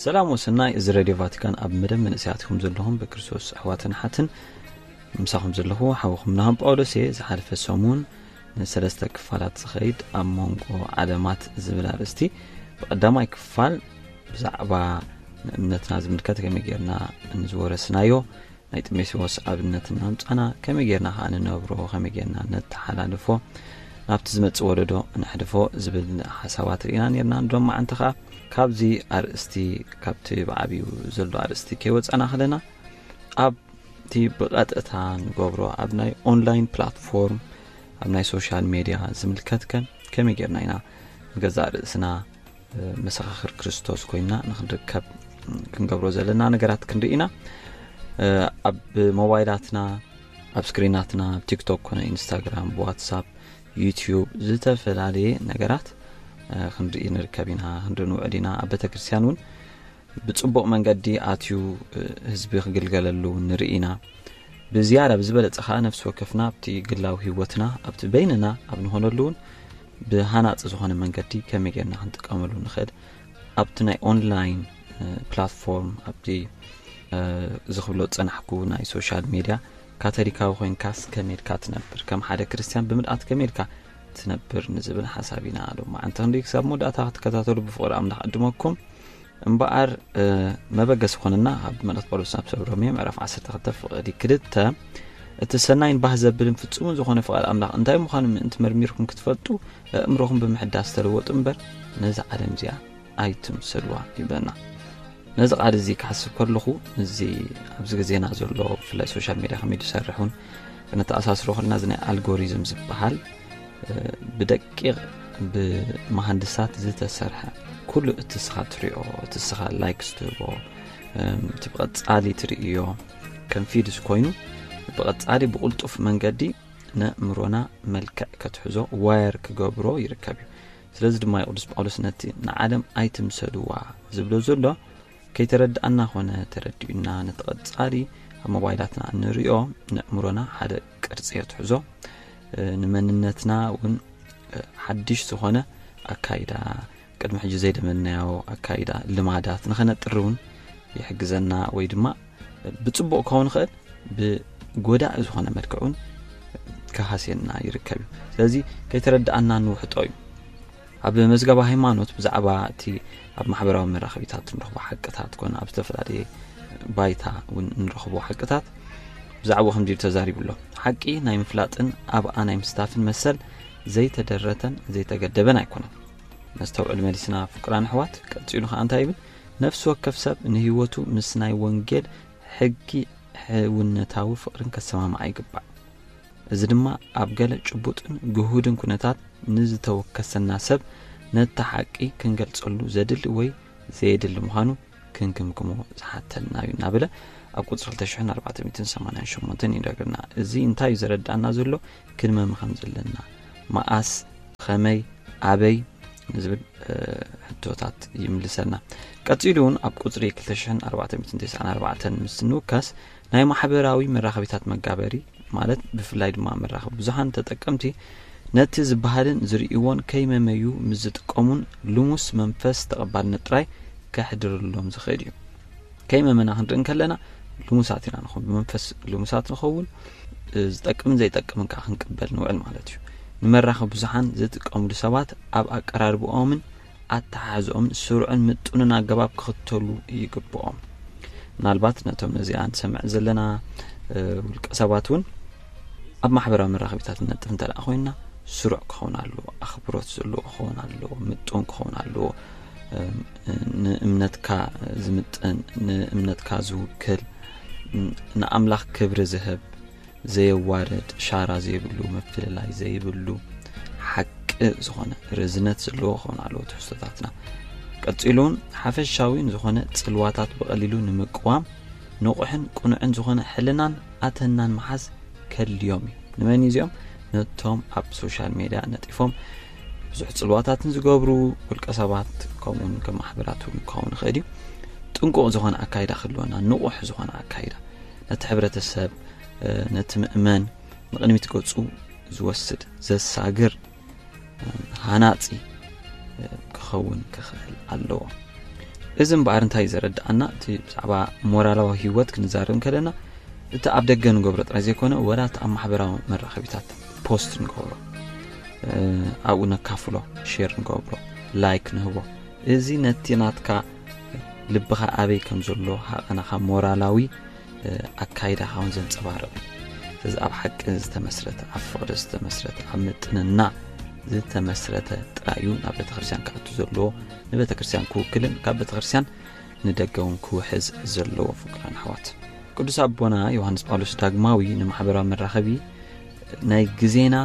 ሰላም ወሰናይ። እዚ ሬድዮ ቫቲካን ኣብ መደብ መንእሰያት ኢኹም ዘለኹም ብክርስቶስ ኣሕዋትን ሓትን። ምሳኹም ዘለኹ ሓውኹም ናህም ጳውሎስ እየ። ዝሓለፈ ሰሙን ንሰለስተ ክፋላት ዝኸይድ ኣብ መንጎ ዓለማት ዝብል ኣርእስቲ ብቐዳማይ ክፋል ብዛዕባ ንእምነትና ዝምልከት ከመይ ጌርና ንዝወረስናዮ ናይ ጢሞቴዎስ ኣብነት እናምጻና ከመይ ጌርና ከኣ ንነብሮ፣ ከመይ ጌርና ነተሓላልፎ፣ ናብቲ ዝመጽእ ወለዶ ነሕልፎ ዝብል ሓሳባት ርኢና ኔርና። ንሎማዓንቲ ከኣ ካብዚ ኣርእስቲ፣ ካብቲ ብዓብዩ ዘሎ ኣርእስቲ ከይወጻና ከለና ኣብቲ ብቐጥታ ንገብሮ ኣብ ናይ ኦንላይን ፕላትፎርም፣ ኣብ ናይ ሶሻል ሜድያ ዝምልከት ከ ከመይ ጌርና ኢና ንገዛእ ርእስና መሰኻኽር ክርስቶስ ኮይና ንክንርከብ ክንገብሮ ዘለና ነገራት ክንርኢ ኢና። ኣብ ሞባይላትና፣ ኣብ ስክሪናትና፣ ኣብ ቲክቶክ ኮነ ኢንስታግራም፣ ብዋትሳፕ፣ ዩቲዩብ፣ ዝተፈላለየ ነገራት ክንርኢ ንርከብ ኢና፣ ክንርኢ ንውዕል ኢና። ኣብ ቤተክርስትያን እውን ብጽቡቕ መንገዲ ኣትዩ ህዝቢ ክግልገለሉ ንርኢ ኢና። ብዝያዳ ብዝበለጸ ኸኣ ነፍሲ ወከፍና ኣብቲ ግላዊ ህይወትና ኣብቲ በይንና ኣብ ንኾነሉ እውን ብሃናጺ ዝኾነ መንገዲ ከመይ ጌርና ክንጥቀመሉ ንኽእል ኣብቲ ናይ ኦንላይን ፕላትፎርም ኣብቲ እዚ ክብሎ ዝጸናሕኩ ናይ ሶሻል ሜድያ ካቶሊካዊ ኮይንካስ ከመይ ኢልካ ትነብር፣ ከም ሓደ ክርስትያን ብምልኣት ከመይ ኢልካ ትነብር ንዝብል ሓሳብ ኢና ሎማዓንቲ ክንዲ ክሳብ መወዳእታ ክትከታተሉ ብፍቕሪ ኣምላኽ ዕድመኩም። እምበኣር መበገሲ ኮነና ካብ መልእኽቲ ጳውሎስ ናብ ሰብ ሮሜ ምዕራፍ ዓሰርተ ክልተ ፍቕዲ ክልተ እቲ ሰናይን ባህ ዘብልን ፍጹምን ዝኾነ ፍቓድ ኣምላኽ እንታይ ምዃኑ ምእንቲ መርሚርኩም ክትፈልጡ ኣእምሮኹም ብምሕዳስ ተለወጡ እምበር ነዚ ዓለም እዚኣ ኣይትምሰልዋ ይብለና። ነዚ ቃል እዚ ክሓስብ ከለኹ እዚ ኣብዚ ግዜና ዘሎ ብፍላይ ሶሻል ሜድያ ከመይ ዝሰርሕ እውን ክነተኣሳስሮ ከለና እዚ ናይ ኣልጎሪዝም ዝበሃል ብደቂቕ ብመሃንድሳት ዝተሰርሐ ኩሉ እቲ ስኻ ትሪኦ እቲ ስኻ ላይክስ ትህቦ እቲ ብቐጻሊ ትርእዮ ከም ፊድስ ኮይኑ ብቐጻሊ ብቕልጡፍ መንገዲ ነእምሮና መልክዕ ከትሕዞ ዋየር ክገብሮ ይርከብ እዩ። ስለዚ ድማ እዩ ቅዱስ ጳውሎስ ነቲ ንዓለም ኣይትምሰልዋ ዝብሎ ዘሎ ከይተረድኣና ኮነ ተረዲኡና ነቲ ቀጻሊ ኣብ ሞባይላትና እንርእዮ ነእምሮና ሓደ ቅርጺ የትሕዞ ንመንነትና እውን ሓድሽ ዝኾነ ኣካይዳ ቅድሚ ሕጂ ዘይለመድናዮ ኣካይዳ ልማዳት ንኸነጥሪ እውን ይሕግዘና ወይ ድማ ብጽቡቕ ክኸውን ይኽእል ብጎዳኢ ዝኾነ መልክዕ እውን ክሃስየና ይርከብ እዩ። ስለዚ ከይተረድኣና ንውሕጦ እዩ። ኣብ መዝገባ ሃይማኖት ብዛዕባ እቲ ኣብ ማሕበራዊ መራኸቢታት እንረኽቦ ሓቅታት ኮነ ኣብ ዝተፈላለየ ባይታ እውን እንረኽቦ ሓቅታት ብዛዕባኡ ከምዚ ኢሉ ተዛሪቡ ኣሎ። ሓቂ ናይ ምፍላጥን ኣብኣ ናይ ምስታፍን መሰል ዘይተደረተን ዘይተገደበን ኣይኮነን። ነስተውዕል መሊስና ፍቅራን ኣሕዋት ቀጺሉ ከኣ እንታይ ይብል? ነፍሲ ወከፍ ሰብ ንህይወቱ ምስ ናይ ወንጌል ሕጊ ሕውነታዊ ፍቅርን ከሰማምዓ ይግባእ። እዚ ድማ ኣብ ገለ ጭቡጥን ግሁድን ኩነታት ንዝተወከሰና ሰብ ነቲ ሓቂ ክንገልጸሉ ዘድሊ ወይ ዘየድሊ ምዃኑ ክንግምግሞ ዝሓተና እዩ እናበለ ኣብ ቁፅሪ ክልተ ሽሕን ኣርባዕተ ሚእትን ሰማንያን ሸሞንተን ይነግርና። እዚ እንታይ እዩ ዘረዳእና ዘሎ? ክንመም ከም ዘለና፣ መኣስ፣ ኸመይ፣ ኣበይ ንዝብል ሕቶታት ይምልሰልና። ቀፂሉ እውን ኣብ ቁፅሪ ክልተ ሽሕን ኣርባዕተ ሚእትን ተስዓን ኣርባዕተን ምስ ንውከስ ናይ ማሕበራዊ መራኸቢታት መጋበሪ ማለት ብፍላይ ድማ መራኸቢ ብዙሃን ተጠቀምቲ ነቲ ዝበሃልን ዝርእይዎን ከይመመዩ ምስ ዝጥቀሙን ልሙስ መንፈስ ተቐባልነት ጥራይ ከሕድርሎም ዝኽእል እዩ። ከይመመና ክንርኢ እንከለና ልሙሳት ኢና ንኸውን፣ ብመንፈስ ልሙሳት ንኸውን፣ ዝጠቅምን ዘይጠቅምን ከዓ ክንቅበል ንውዕል ማለት እዩ። ንመራኸቢ ብዙሃን ዝጥቀሙሉ ሰባት ኣብ ኣቀራርብኦምን ኣተሓሕዝኦምን ስሩዕን ምጡንን ኣገባብ ክኽተሉ ይግብኦም። ምናልባት ነቶም ነዚኣ ንሰምዕ ዘለና ውልቀ ሰባት እውን ኣብ ማሕበራዊ መራኸቢታት ንነጥፍ እንተ ደኣ ኮይንና ስሩዕ ክኸውን ኣለዎ፣ ኣኽብሮት ዘለዎ ክኸውን ኣለዎ፣ ምጡን ክኸውን ኣለዎ። ንእምነትካ ዝምጥን፣ ንእምነትካ ዝውክል፣ ንኣምላኽ ክብሪ ዝህብ፣ ዘየዋርድ፣ ሻራ ዘይብሉ፣ ምፍልላይ ዘይብሉ፣ ሓቂ ዝኾነ ርዝነት ዘለዎ ክኸውን ኣለዎ ትሕዝቶታትና። ቀጺሉ እውን ሓፈሻዊ ንዝኾነ ጽልዋታት ብቐሊሉ ንምቅዋም ንቑሕን ቅኑዕን ዝኾነ ሕልናን ኣተናን መሓዝ ከድልዮም እዩ። ንመን እዩ እዚኦም? ነቶም ኣብ ሶሻል ሜድያ ነጢፎም ብዙሕ ጽልዋታትን ዝገብሩ ውልቀ ሰባት ከምኡውን ከም ማሕበራት እውን ክኸውን ይኽእል እዩ። ጥንቁቕ ዝኾነ ኣካይዳ ክህልወና፣ ንቑሕ ዝኾነ ኣካይዳ ነቲ ሕብረተሰብ ነቲ ምእመን ንቕድሚት ገጹ ዝወስድ ዘሳግር ሃናጺ ክኸውን ክኽእል ኣለዎ። እዚ እምበኣር እንታይ እዩ ዘረድኣና? እቲ ብዛዕባ ሞራላዊ ህይወት ክንዛረብ ከለና፣ እቲ ኣብ ደገ ንገብሮ ጥራይ ዘይኮነ፣ ወላ እቲ ኣብ ማሕበራዊ መራኸቢታት ፖስት ንገብሮ፣ እ፣ ኣብኡ ነካፍሎ፣ ሼር ንገብሮ፣ ላይክ ንህቦ፣ እዚ ነቲ ናትካ ልብኻ ኣበይ ከም ዘሎ ሃቐናኻ ሞራላዊ፣ እ፣ ኣካይዳኻ እውን ዘንጸባርቕ እዩ። ስለዚ ኣብ ሓቂ ዝተመስረተ፣ ኣብ ፍቕሪ ዝተመስረተ፣ ኣብ ምጥንና ዝተመስረተ ጥራይ እዩ ናብ ቤተክርስትያን ክኣቱ ዘለዎ። ንቤተክርስትያን ክውክልን ካብ ቤተክርስትያን ንደገ እውን ክውሕዝ ዘለዎ። ፍቁራን ኣሕዋት፣ ቅዱስ ኣቦና ዮሃንስ ጳውሎስ ዳግማዊ ንማሕበራዊ መራኸቢ ናይ ግዜና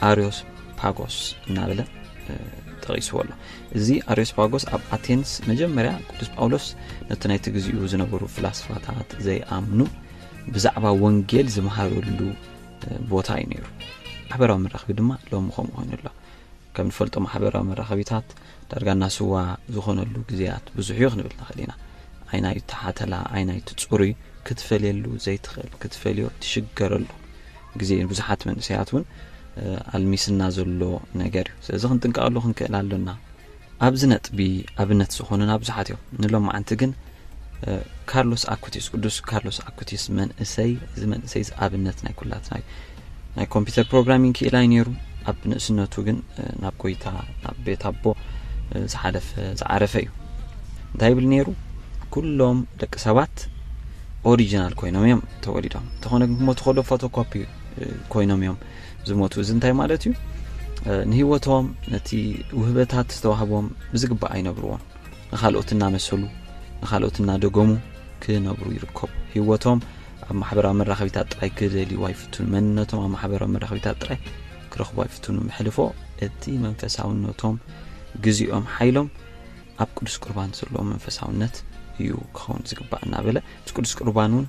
ኣርዮስ ፓጎስ እናበለ፣ እ፣ ጠቒስዎ ኣሎ። እዚ ኣርዮስ ፓጎስ ኣብ ኣቴንስ መጀመርያ ቅዱስ ጳውሎስ ነቲ ናይቲ ግዜኡ ዝነበሩ ፍላስፋታት ዘይኣምኑ ብዛዕባ ወንጌል ዝመሃረሉ፣ እ፣ ቦታ እዩ ነይሩ። ማሕበራዊ መራኸቢ ድማ ሎሚ ከምኡ ኮይኑ ኣሎ። ከም ንፈልጦ ማሕበራዊ መራኸቢታት ዳርጋ እናስዋ ዝኾነሉ ግዜያት ብዙሕ እዩ ክንብል ንኽእል ኢና። ኣይናይ ተሓተላ፣ ኣይናይ ትጽሩይ ክትፈልየሉ ዘይትኽእል፣ ክትፈልዮ ትሽገረሉ ግዜ እዩ። ብዙሓት መንእሰያት እውን፣ እ፣ ኣልሚስና ዘሎ ነገር እዩ። ስለዚ ክንጥንቀቐሉ ክንክእል ኣሎና። ኣብዚ ነጥቢ ኣብነት ዝኾኑና ብዙሓት እዮም። ንሎማዓንቲ ግን፣ እ፣ ካርሎስ ኣኩቲስ፣ ቅዱስ ካርሎስ ኣኩቲስ መንእሰይ፣ እዚ መንእሰይ እዚ ኣብነት ናይ ኩላትና እዩ። ናይ ኮምፒውተር ፕሮግራሚንግ ክኢላ እዩ ነይሩ። ኣብ ንእስነቱ ግን፣ እ፣ ናብ ጎይታ፣ ናብ ቤት ኣቦ፣ እ፣ ዝሓለፈ፣ ዝዓረፈ እዩ። እንታይ ይብል ነይሩ? ኩሎም ደቂ ሰባት ኦሪጂናል ኮይኖም እዮም ተወሊዶም። እንተኾነ ግን ክሞቱ ከሎ ፎቶኮፒ፣ እ፣ ኮይኖም እዮም ዝሞቱ። እዚ እንታይ ማለት እዩ? እ፣ ንህይወቶም፣ ነቲ ውህበታት ዝተዋህቦም ብዝግባእ ኣይነብርዎን። ንኻልኦት እናመሰሉ፣ ንኻልኦት እናደገሙ ክነብሩ ይርከቡ። ህይወቶም ኣብ ማሕበራዊ መራኸቢታት ጥራይ ክደልይዎ ኣይፍትኑ። መንነቶም ኣብ ማሕበራዊ መራኸቢታት ጥራይ ክረኽቡ ኣይፍትኑ። መሕልፎ እቲ መንፈሳውነቶም፣ ግዜኦም፣ ሓይሎም ኣብ ቅዱስ ቁርባን ዘለዎ መንፈሳውነት እዩ ክኸውን ዝግባእ እናበለ፣ እቲ ቅዱስ ቁርባን እውን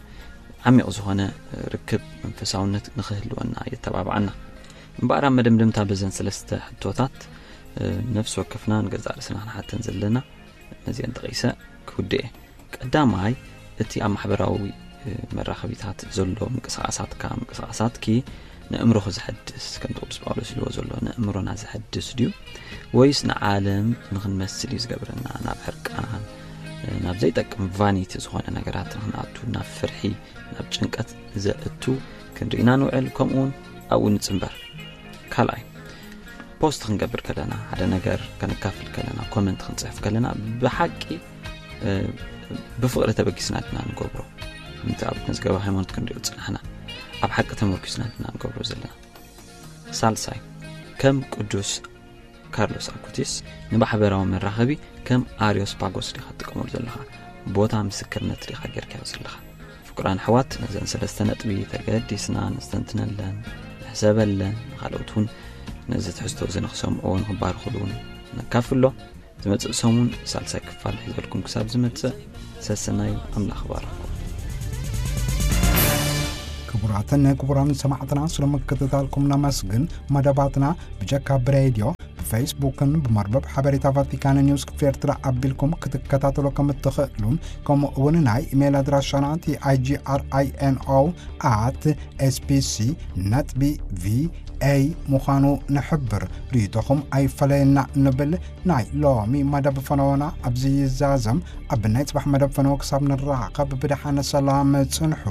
ዓሚቕ ዝኾነ ርክብ መንፈሳውነት ንኽህልወና የተባብዓና። እምበኣር ኣብ መደምደምታ በዘን ሰለስተ ሕቶታት፣ እ፣ ነፍሲ ወከፍና ንገዛእ ርእስና ክንሓተን ዘለና፣ ነዚአን ጠቒሰ ክውድእ እየ። ቀዳማይ፣ እቲ ኣብ ማሕበራዊ፣ እ፣ መራኸቢታት ዘሎ ምንቅስቓሳትካ፣ ምንቅስቓሳትኪ ንእምሮኺ ዘሐድስ፣ ከምቲ ቅዱስ ጳውሎስ ኢልዎ ዘሎ፣ ንእምሮና ዘሐድስ ድዩ? ወይስ ንዓለም ንኽንመስል እዩ ዝገብረና? ናብ ሕርቃን፣ እ፣ ናብ ዘይጠቅም ቫኒቲ ዝኾነ ነገራት ንኽንኣቱ፣ ናብ ፍርሒ፣ ናብ ጭንቀት ዘእቱ ክንርኢና ንውዕል፣ ከምኡውን ኣብኡ ንጽንበር። ካልኣይ፣ ፖስት ክንገብር ከለና፣ ሓደ ነገር ከነካፍል ከለና፣ ኮመንት ክንጽሕፍ ከለና፣ ብሓቂ፣ እ፣ ብፍቕሪ ተበጊስና ድና ንገብሮ? ከምቲ ኣብ መዝገበ ሃይማኖት ክንሪኦ ዝጸናሕና፣ ኣብ ሓቂ ተመርኪስና ድና ንገብሮ ዘለና? ሳልሳይ፣ ከም ቅዱስ ካርሎስ ኣኩቲስ ንማሕበራዊ መራኸቢ ከም ኣርዮስ ፓጎስ ዲኻ ትጥቀመሉ ዘለኻ? ቦታ ምስክርነት ዲኻ ጌርካዮ ዘለኻ? ፍቁራን ኣሕዋት፣ ነዘን ሰለስተ ነጥቢ ተገዲስና ነስተንትነለን፣ ንሕሰበለን፣ ንኻልኦት እውን ነዚ ትሕዝቶ እዚ ንኽሰምዕዎ፣ ንኽባርኹሉ እውን ነካፍሎ። ዝመጽእ ሰሙን ሳልሳይ ክፋል ሒዘልኩም ክሳብ ዝመጽእ፣ ሰሰናዩ፣ ኣምላኽ ይባርኽኩም። ክቡራትን ክቡራን ሰማዕትና፣ ስለ ምክትታልኩም ነመስግን። መደባትና ብጀካ ብሬድዮ፣ ብፌስቡክን ብመርበብ ሓበሬታ ቫቲካን ኒውስ ክፍሊ ኤርትራ ኣቢልኩም ክትከታተሉ ከም እትኽእሉን፣ ከምኡ እውን ናይ ኢሜይል ኣድራሻና ቲ ኣይ ጂ ኣር ኣይ ኤን ኦ ኣት ኤስ ቢ ሲ ነጥቢ ቪ ኤ ምዃኑ ንሕብር። ርእይቶኹም ኣይፈለየና ንብል። ናይ ሎሚ መደብ ፈነወና ኣብዚ ይዛዘም። ኣብ ናይ ጽባሕ መደብ ፈነወ ክሳብ ንራኸብ ብደሓን ሰላም ጽንሑ።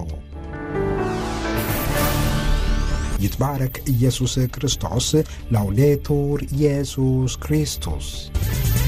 ይትባረክ ኢየሱስ ክርስቶስ። ላውዴቱር ኢየሱስ ክርስቶስ።